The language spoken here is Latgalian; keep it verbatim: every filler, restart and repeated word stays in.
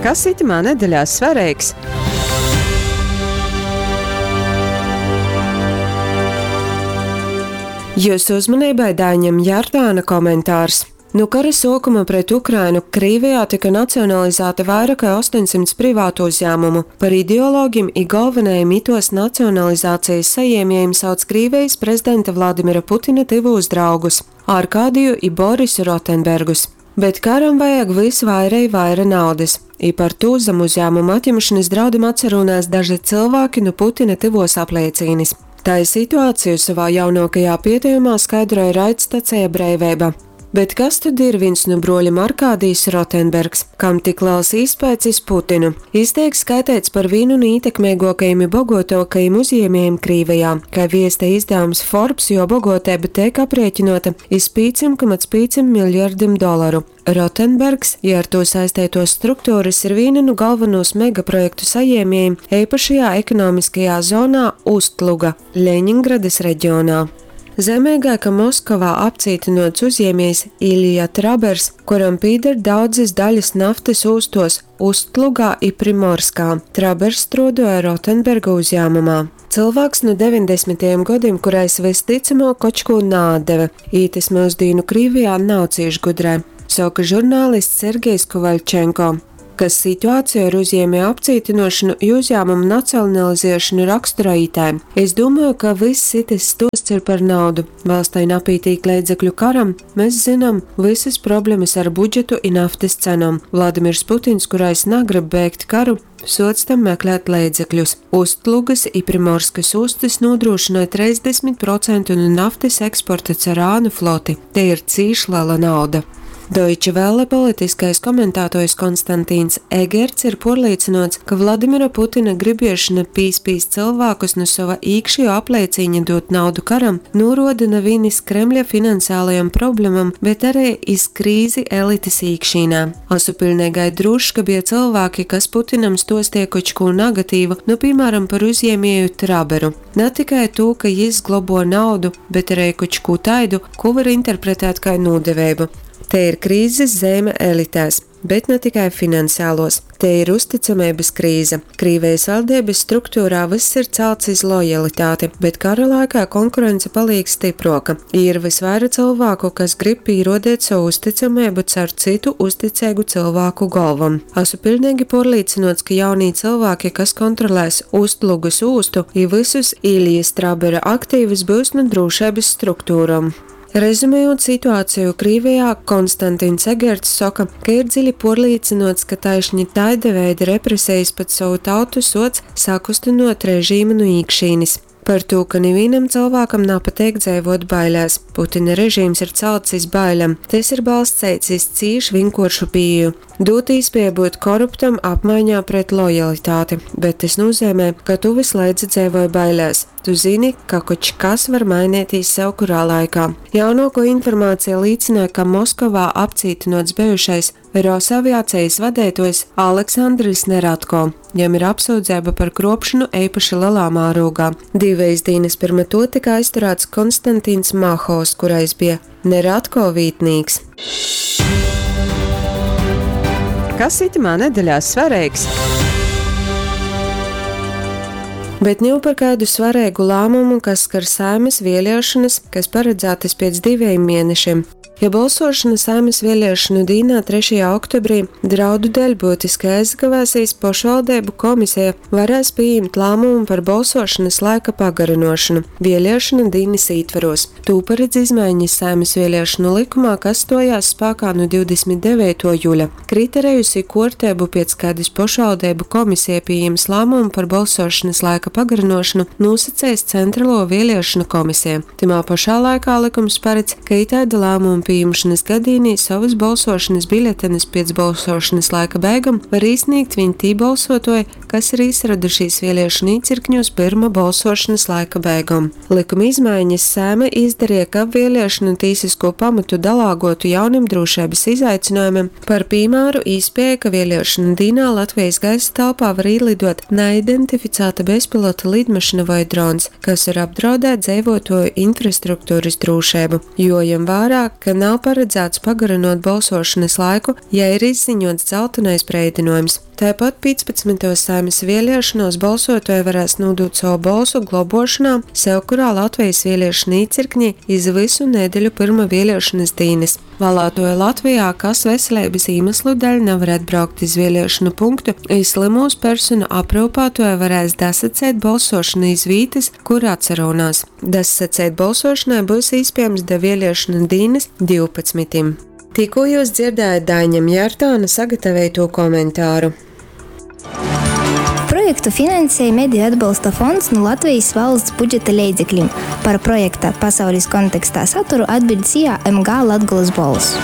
Kas itymā nedeļā svareigs? Jiusu uzmaneibai Daiņa Mjartāna komentārs. Nu kara suokuma pret Ukrainu Krīvejā tyka nacionalizāti vaira kai ostoņsymts privatu uzjāmumu. Par ideologim i golvonajim ituos nacionalizacejis sajiemiejim sauc Krīvejis prezidenta Vladimira Putina tyvūs draugus Arkadiju i Borisu Rotenbergus. Bet karam vajag vys vaira i vaira naudys, i par tū zam uzjāmumu atjimšonys draudim atsarūnās daži cylvāki nu Putina tyvuos apleicīnis. Tai situaciju sovā jaunuokajā pietejumā skaidroj raidstaceja Breiveiba. Bet kas tod ir vīns nu bruolim Arkādijs Rotenbergs, kam tik lels īspaids iz Putinu? Jis teik skaiteits par vīnu nu ītekmeiguokajim i boguotuokajim uzjiemiejim Krīvejā. Kai viestej izdavums Forbes, juo boguoteiba teik apriekinuota iz pīcim komats pīcim miljardim dolaru. Rotenbergs i ar tū saisteituos strukturys ir vīna nu golvonūs megaprojektu sajiemiejim eipašajā ekonomiskajā zonā Ustluga Ļeņingradys regionā. Zeimeigai, ka Moskovā apcītynuots uzjiemiejs Iļja Trabers, kuram pīder daudzys dalis naftys ūstuos Ustlugā i Primorskā. Trabers struoduoja Rotenberga uzjāmumā. Cylvāks nu deveņdesmitajim godim, kurais vystycamuok koč kū naatdeve. Itys myusdīnu Krīvejā nav cīš gudrai, soka žurnālists Sergejs Kovaļčenko, kas situāciju ar uzjiemieju apcītynuošonu i uzjāmumu nacionaliziešonu raksturoj itai. Es dūmoju, ka vyss itys stuosts ir par naudu. Valstei napītīk leidzekļu karam, mes zynom vysys problemys ar budžetu i naftys cenom. Vladimirs Putins, kurais nagrib beigt karu, suoc tam meklēt leidzekļus. Ustlugys i Primorskys ūstys nūdrūšynoj treisdesmit procentu nu naftys eksporta car ānu floti. Tei ir cīš lela nauda. Deutsche Welle politiskais komentātuojs Konstantīns Egerts ir puorlīcynuots, ka Vladimira Putina gribiešona pīspīst cylvākus nu sova īkšejuo apleicīņa dūt naudu karam nūruoda na viņ iz Kremļa finansialajom problemom, bet ari iz krīzi elitis īkšīnē. Asu piļneigai drūšs, ka bija cylvāki, kas Putinam stuostīja koč kū nagatīvu, nu, pīmāram, par uzjiemieju Traberu. Na tikai tū, ka jis globo naudu, bet arī koč kū taidu, kū var interpretēt kai nūdeveibu. Te ir krīzes zeime elitēs, bet ne tikai finansiālos. Te ir uzticameibys krīze. Krīvejis valdības struktūrā vyss ir celts iz lojalitāti, bet kara laikā konkurence paliek stypruoka. Ir vysvaira cylvāku, kas grib pīruodeit sovu uzticameibu caur cytu uzticeigu cylvāku golvom. Asu piļneigi puorlīcynuots, ka jaunī cylvāki, kas kontrolēs Ustlugas ūstu i vysus Iļjas Trabera aktīvus, byus nu drūšeibys struktūrom. Rezumējot situāciju Krīvejā, Konstantins Egerts soka, ka ir dziļi puorlīcynuots, ka taišni taida veida represejis pat sovu tautu suoc sakustynuot režīmu nu īkšīnis. Par tū, ka nivīnam cylvākam napateik dzeivuot bailēs. Putina režīms ir celts iz bailem. Tys ir balsteits iz cīš vinkuoršu pīeju. Dūt īspēju būt koruptam apmaiņā pret lojalitāti, bet tys nozīmē, ka tu vysleidza dzeivoj bailēs. Tu zini, ka koč kas var mainīties sevkurā laikā. Jaunuokuo informācija līcynoj, ka Moskovā apcītynuots bejušais Rosaviacijas vadeituojs Aleksandrs Neratko. Jam ir apsūdzeiba par kruopšonu eipaši lelā mārūgā. Divejis dīnys pyrma tuo tyka aizturāts Konstantīns Mahovs, kurais bija Neratko vītnīks. Kas itymā nedeļā svareigs? Bet niu par kaidu svareigu lāmumu, kas skar Saeimys vieliešonys, kas paradzātys piec divejim mienešim. Ja bolsuošona Saeimys vieliešonu dīnā trešajā oktobrī draudu deļ byutiski aizakavēsīs, pošvaldeibu komiseja varēs pījimt lāmumu par bolsuošonys laika pagarynuošonu vieliešonu dīnys ītverūs. Tū paredz izmainis Saeimys vieliešonu lykumā, kas stuojās spākā nu divdesmit deveituo juļa. Kriterejus i kuorteibu, piec kaidys pošvaldeibu komisija pījims lāmumu par bolsuošonys laika pagarynuošonu, nūsaceis Centraluo vieliešonu komisija. Tymā pošā laikā lykums paredz, ka itaida lāmuma pījimšanas gadīnī sovys bolsuošonys biļetenus piec bolsuošonys laika beigom var īsnīgt viņ tī bolsuotuoji, kas ir īsaradušīs vieliešonu īcirkņūs pyrma bolsuošonys laika beigom. Lykuma izmaiņas Saeima izdarīja, kab vieliešonu tīsisko pamatu dalāgotu jaunim drūšeibys izaicinojumim, par pīmāru īspēja, ka vieliešonu dīnā Latvijas gaisa telpā var īlidot neidentificēta bezpilota lidmašīna voi drons, kas var apdraudēt dzeivuotuoju infrastruktūrys drūšeibu. Jojam vērā, ka nav paredzēts pagarinot balsošanas laiku, ja ir izziņots dzeltenais breidinojums. Taipat pīcpadsmytuos Saeimys vieliešonuos bolsuotuoji varēs nūdūt sovu bolsu globuošonā sevkurā Latvejis vieliešonu īcirknī iz vysu nedeļu pyrma vieliešonys dīnys. Vālātuoji Latvejā, kas veseleibys īmeslu deļ navar atbraukt iz vieliešonu punktu, i slymūs personu apryupātuoji varēs dasaceit bolsuošonu iz vītys, kur atsarūnās. Dasasaceit bolsuošonai byus īspiejams da vieliešonu dīnys divpadsmitim. Tikū jius dzierdējot Daiņa Mjartāna sagataveitū komentāru. Projektu finansej Mediju atbolsta fonds nu Latvejis valsts budžeta leidzeklim. Par projekta Pasaulis kontekstā saturu atbiļd SIA M G Latgolys Bolss.